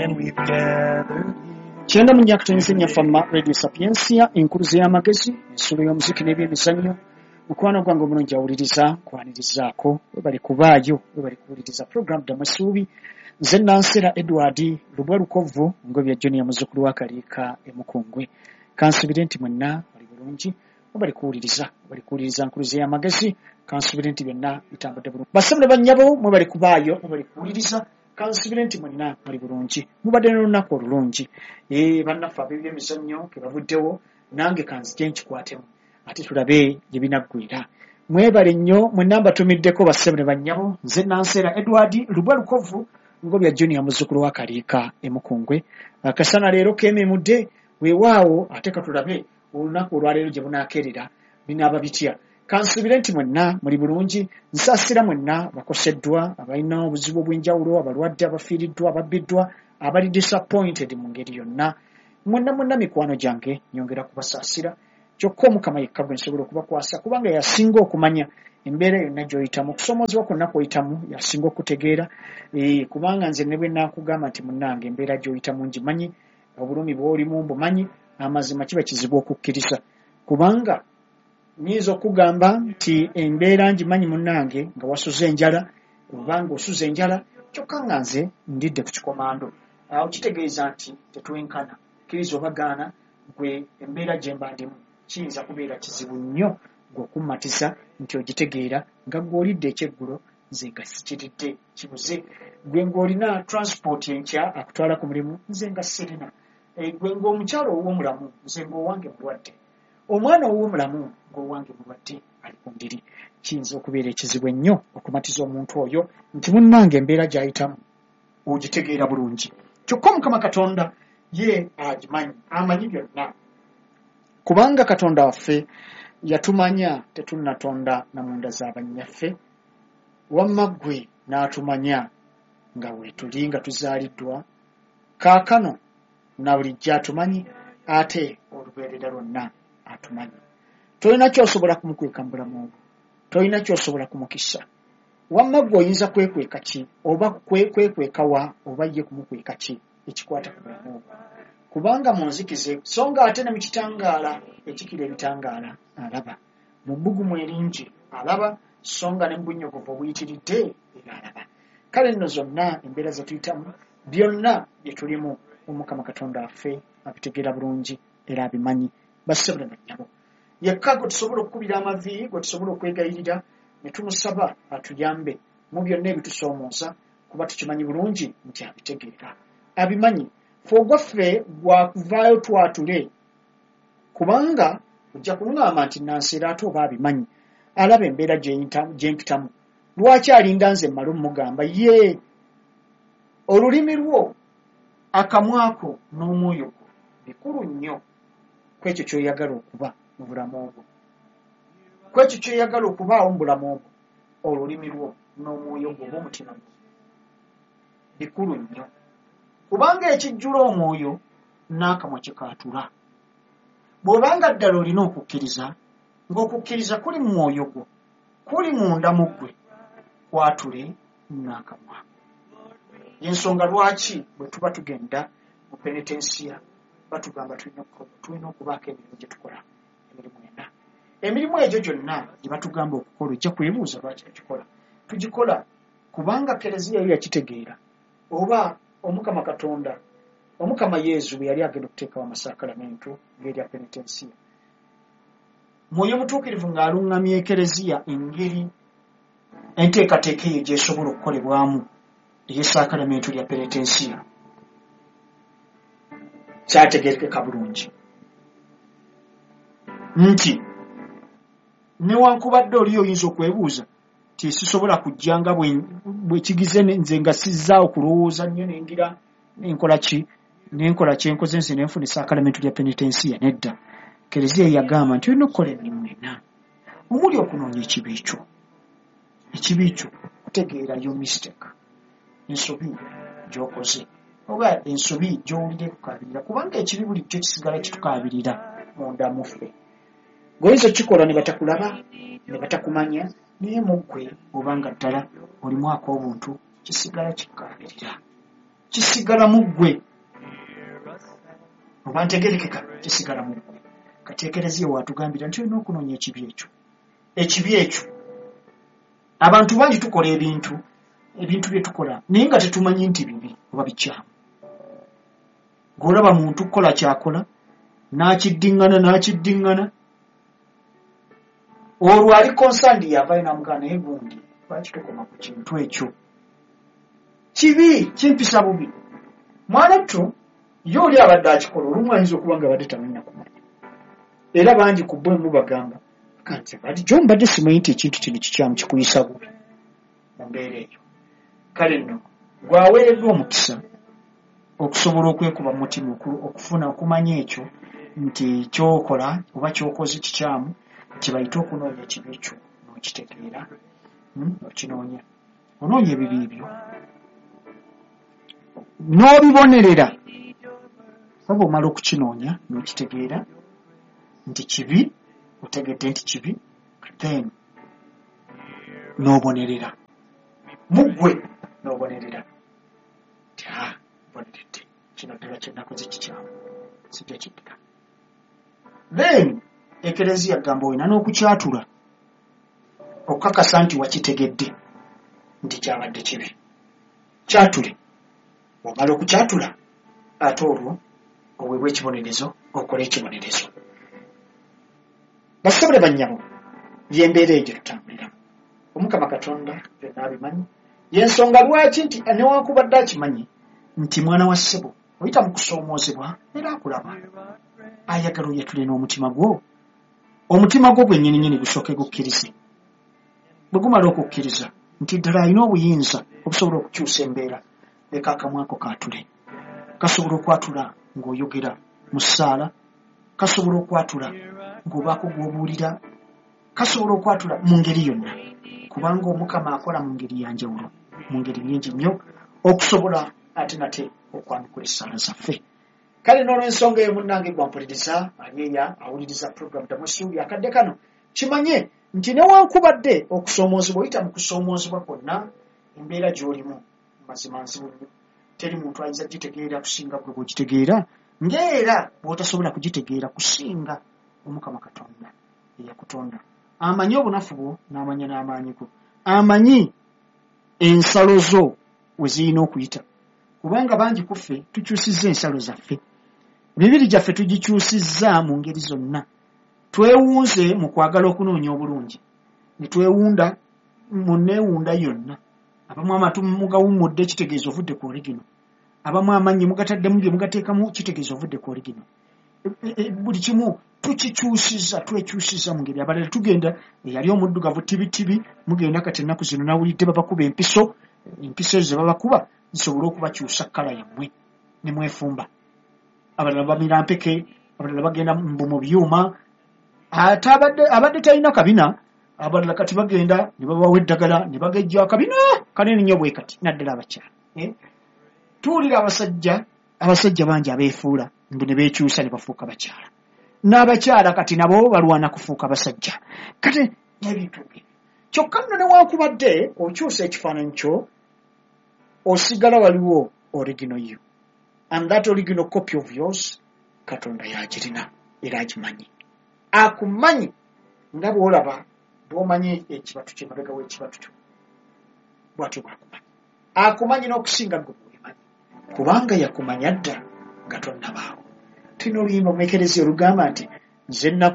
And we've gathered here. 94.4 Fama Radio Sapientia, enkuluze y'amagezi, ensulo y'omuziki n'ebyemizannyo. Mukwano gwange omulungi awuliriza, nkwanirizaako, webali kubaayo, webali kuwuliriza program Ddamu Essuubi. Nze Nansera Edward Lubwa Lukovvu, Ngobya Junior, muzzukulu wa Kaliika e Mukungwe. Kansubire nti mwenna muli bulungi, webali kuwuliriza, webali kuwuliriza nkuluze y'amagezi. Kansubire nti byonna bitambudde bulungi. Bassebo ne bannyabo, mwebali kubaayo, mwebali kuwuliriza. Kansubire nti mwenna muli bulungi, mubadde n'olunaku olulungi. Bannaffe ab'ebyemizannyo ke bavuddewo, nange kanzije nkikwatemu ate tulabe gye binaggwera. Mwebale nnyo mwenna mbatumiddeko, bassebo ne bannyabo. Nze Nansera Edward Lubwa Lukovvu, Ngobya Junior, muzzukulu wa Kaliika e Mukungwe. Akasana leero keememudde, weewaawo, ate katulabe olunaku olwaleero gye bunaakeerera binaaba bitya. Kansubire nti mwenna muli bulungi. Nsaasira mwenna bakoseddwa, abalina obuzibu obw'enjawulo, abalwadde, abafiiriddwa, ababbiddwa, abali disappointed mu ngeri yonna. Mwenna mwenna mikwano gyange, nyongera kubasaasira. Kyokka Omukama yekka gwe nsobola okubakwasa, kubanga yasinga okumanya embeera yonna gy'oyitamu, okusoomoozebwa kwonna kw'oyitamu yasinga okutegeera. Kubanga nze ne bwe naakugamba nti munnange embeera gy'oyitamu ngimanyi, obulumi bw'olimu mbumanyi, amazima kiba kizibu okukkiriza. Kubanga nnyinza okugamba nti embeera ngimanyi munnange nga wasuze enjala, oba ng'osuze enjala, kyokka nga nze ndidde ku kikomando. Awo kitegeeza nti tetwenkana. Kkiriza oba gaana, gwe embeera gye mba ndimu kiyinza kubeera kizibu nnyo gwe okummatiza nti ogitegeera nga gwe olidde ekyeggulo, nze nga sikiridde, kibuze. Gwe ng'olina transport enkya akutwala ku mulimu, nze nga sirina. Gwe ng'omukyala ow'omulamu, nze ng'owange mulwadde. Omwana ow'omulamu ng'owange mulwadde ali ku ndiri. Kiyinza okubeera ekizibu ennyo okumatiza omuntu oyo nti munnange embeera gy'ayitamu ogitegeera bulungi. Kyokka Omukama Katonda ye agimanyi, amanyi byonna. Kubanga Katonda waffe yatumanya tetunnatonda na munda za bannyaffe, wamma ggwe n'atumanya nga weetuli nga tuzaaliddwa, kaakano na bulijjo atumanyi, ate olubeerera lwonna atumanyi. Tolina ky'osobola kumukweka mu bulamu bwo, tolina ky'osobola kumukisa. Wamma ggwe oyinza kwekweka ki, oba kwekweka wa, oba ye kumukweka ki ekikwata ku bulamu bwo? Kubanga mu nzikize, so nga ate ne mu kitangaala ekikira ebitangaala alaba, mu bbugumu eringi alaba, so nga ne mu bunnyogovu obuyitiridde era alaba. Kale nno zonna embeera ze tuyitamu, byonna bye tulimu, Omukama Katonda waffe abitegeera bulungi era abimanyi. Bassebo ne bannyabo, yekka gwe tusobola okukubira amavi, gwe tusobola okwegayirira ne tumusaba atuyambe mu byonna ebitusoomooza, kuba tukimanyi bulungi nti abitegeera, abimanyi. Ffe ogwaffe gwakuvaayo twatule, kubanga ojja kuŋŋamba nti Nansera ate oba abimanyi, alaba embeera gye mpitamu, lwaki alinda nze mmale omugamba? Ye olulimi lwo, akamwako n'omwoyo gwo bikulu nnyo ku ekyo ky'oyagala okuba mu bulamu bwo, ku ekyo ky'oyagala okubaawo mu bulamu bwo. Olulimi lwo n'omwoyo gwo oba omutima gwo bikulu nnyo, kubanga ekijjula omwoyo n'akamwa kikaatula. Bw'obanga ddala olina okukkiriza, ng'okukkiriza kuli mu mwoyo gwo, kuli munda mu ggwe, kwatule n'akamwa. Ensonga lwaki bwe tuba tugenda mu penetensiya batugamba tulina okubaako emirimu gye tukola, emirimu ena. Emirimu egyo gyonna gye batugamba okukola, ojja kwebuuza lwaki tugikola. Tugikola kubanga Kereziya yo yakitegeera, oba Omukama Katonda, Omukama Yezu bwe yali agenda okuteekawo amasakalamentu ng'erya penetensiya, Mwoyo Mutuukirivu ng'aluŋŋamya Ekereziya engeri enteekateeka eyo gy'esobola okukolebwamu ey'essakalamentu lya penetensiya, kyategeerekeka bulungi nti newankubadde oli oyinza okwebuuza nti sisobola kujja nga bwe kigize nze nga sizzaawo kulowooza nnyo nengira nenkola ki, nenkola kyenkoze nze nenfuna essaakalamentu lya penetensiya. Nedda, Kereziya yagamba nti olina okukola emirimu ena omuli okunoonya ekibi kyo. Ekibi kyo kutegeera yo mistake, ensobi gy'okoze oba ensobi gy'owulira ekukaabirira, kubanga ekibi bulijjo kisigala kitukaabirira munda mu ffe. Ng'oyinza okukikola ne batakulaba, ne batakumanya, naye mu ggwe obanga ddala olimu ak'obuntu kisigala kikukaabirira. Kisigala mu ggwe. Oba ntegerekeka, kisigala mu ggwe. Kati Ekereziya waatugambira nti olina okunoonya ekibi ekyo. Ekibi ekyo. Abantu bangi tukola ebintu, ebintu bye tukola naye nga tetumanyi nti bibi oba bikyamu. Ng'olaba muntu kukola ky'akola, n'akiddiŋŋana n'akiddiŋŋana. Olwo ali concerned yavaayo n'amugamba, naye gundi lwaki tokoma ku kintu ekyo? Kibi, kimpisa bubi. Mwana ttu, ye oli abadde akikola, olumu ayinza okuba nga abadde tamanyi na kumanya. Era bangi ku bo mubagamba nti bulijjo mbadde simanyi nti ekintu kino kikyamu, kikuyisa bubi mu mbeera eyo. Kale nno gw'aweereddwa omukisa okusobola okwekuba mu mutima okufuna okumanya ekyo nti ky'okola oba ky'okoze kikyamu, kye bayita okunoonya ekibi kyo n'okitegeera, okinoonya. Onoonya ebibi byo n'obibonerera. Oba omala okukinoonya n'okitegeera nti kibi, otegedde nti kibi, then n'obonerera. Mu ggwe n'obonerera nti mboneredde, kino ddala kye nakoze kikyamu, sijja kiddira. Then Ekereziya gamba olina n'okukyatula okukakasa nti wakitegedde nti kyabadde kibi. Kyatule. Bw'omala okukyatula, ate olwo oweebwa ekibonerezo, okole ekibonerezo. Bassebo ne bannyabo, y'embeera eyo gye tutambuliramu. Omukama Katonda byonna abimanyi. Y'ensonga lwaki nti newankubadde akimanyi nti mwana wa ssebo oyita mu kusoomoozebwa, era akulaba. Ayagala oyatule n'omutima gwo. Omutima gwo gwennyininyini gusooke gukkirize. Bwe gumala okukkiriza nti ddala alina obuyinza obusobola okukyusa embeera, leka akamwa ko kaatule. Kasobola okwatula ng'oyogera mu ssaala, kasobola okwatula ng'obaako gw'obuulira, kasobola okwatula mu ngeri yonna, kubanga Omukama akola mu ngeri ya njawulo, mu ngeri nnyingi nnyo, okusobola ate nate okwanukula essaala zaffe. Kale n'olw'ensonga eyo, munnange gwampuliriza ali eya awuliriza program Ddamu Essuubi akadde kano, kimanye nti newankubadde okusoomoozebwa, oyita mu kusoomoozebwa kwonna, embeera gy'olimu mazima nzibu nnyo, teri muntu ayinza kugitegeera kusinga ggwe bw'ogitegeera, ng'era bw'otasobola kugitegeera kusinga Omukama Katonda eyakutonda. Amanyi obunafu bwo n'amanya n'amaanyi go. Amanyi ensalo zo we zirina okuyita, kubanga bangi ku ffe tukyusizza ensalo zaffe. Emibiri gyaffe tugikyusizza mu ngeri zonna. Twewunze mu kwagala okunoonya obulungi, ne twewunda mu nneewunda yonna. Abamu amatu mugawummudde, kitegeeza ovudde ku original. Abamu amannyo mugataddemu bye mugateekamu, kitegeeza ovudde ku original. Buli kimu tukikyusizza, twekyusizza mu ngeri. Abalala tugenda, eyali omuddugavu tibitibi, mugenda kati ennaku zino nawulidde babakuba empiso. Empiso ezo ze babakuba zisobole okubakyusa colour yammwe ne mwefumba. Abalala bamira mpeke, abalala bagenda mbu mu byuma, ate abadde talina kabina. Abalala kati bagenda ne babawa eddagala ne bagejja akabina kanene nnyo bwe kati, naddala abakyala. Tuwulira abasajja bangi abeefuula mbu ne beekyusa ne bafuuka bakyala, n'abakyala kati nabo balwana kufuuka basajja, kati n'ebintu ng'ebyo. Kyokka nno newankubadde okyusa ekifaananyi kyo, osigala waliwo original you, and that original copy of yours Katonda yagirina era agimanyi. Akumanyi nga bw'olaba bw'omanyi ekibatu kye mabega w'ekibatu kyo, bw'atyo bw'akumanyi. Akumanyi n'okusinga ggwe bw'obimanyi, kubanga yakumanya dda nga tonnabaawo. Tulina oluyimba mu Ekereziya olugamba nti nze